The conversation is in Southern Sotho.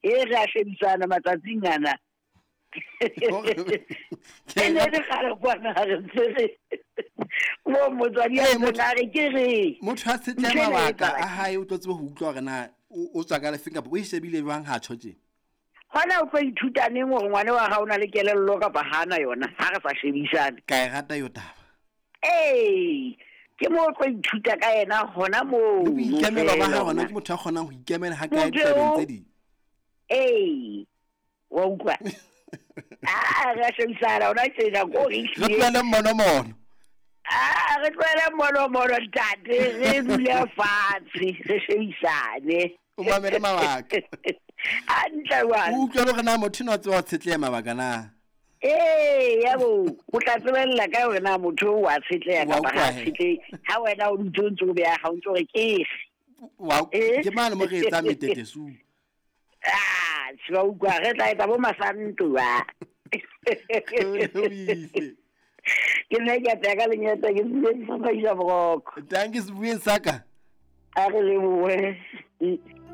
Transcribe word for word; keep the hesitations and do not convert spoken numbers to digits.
E re a shebisana matsatsing ana. E ne le kgale kwana re ntse re mo motswadi a Ee, motho- ntseng a re ke re Motho a tshetleha Ntho ena e mabaka etsahala a hae, o tlo tsebe ho utlwa hore na o o tswa ka lefeng kapa o e shebile jwang ha tjho tje. Hona o tlo ithuta neng hore ngwana wa hao o na le kelello kapa hana yona ha re sa shebisane? Ka e rata yo taba. Ee, ke mo o tlo ithuta ka yena hona moo. Le boikemelo ba hae hona feela. ke motho a kgonang ho ikemela ha kae Motho ditabeng eo- tse ding. Ee, wa utlwa. Ah, re a shebisana hona tjena ko re Re ehlile. tlohele mmonomono. Ah, re tlohele mmonomono ntate, re dule fatshe re shebisane. O mamele mabaka. Hantle jwale. O utlwe le hore na motho enwa o tseba ho tshetleha mabaka na. Ee, ya bo, o tla tsebella ka hore na motho o wa tshetleha Wa kapa utlwa ha he. tshetlehe. Ha wena o dutse o ntse o beha, ha o ntso re ke efe. Wa Eh? ke mane mo re etsang metetesu. Ah, se wa utlwa, re tla etsa bo masanto ba. O ile. Ke nna ke a ka lenyata ke bile ke sa boroko. Dankie sebueng sa ka. A re lebohe.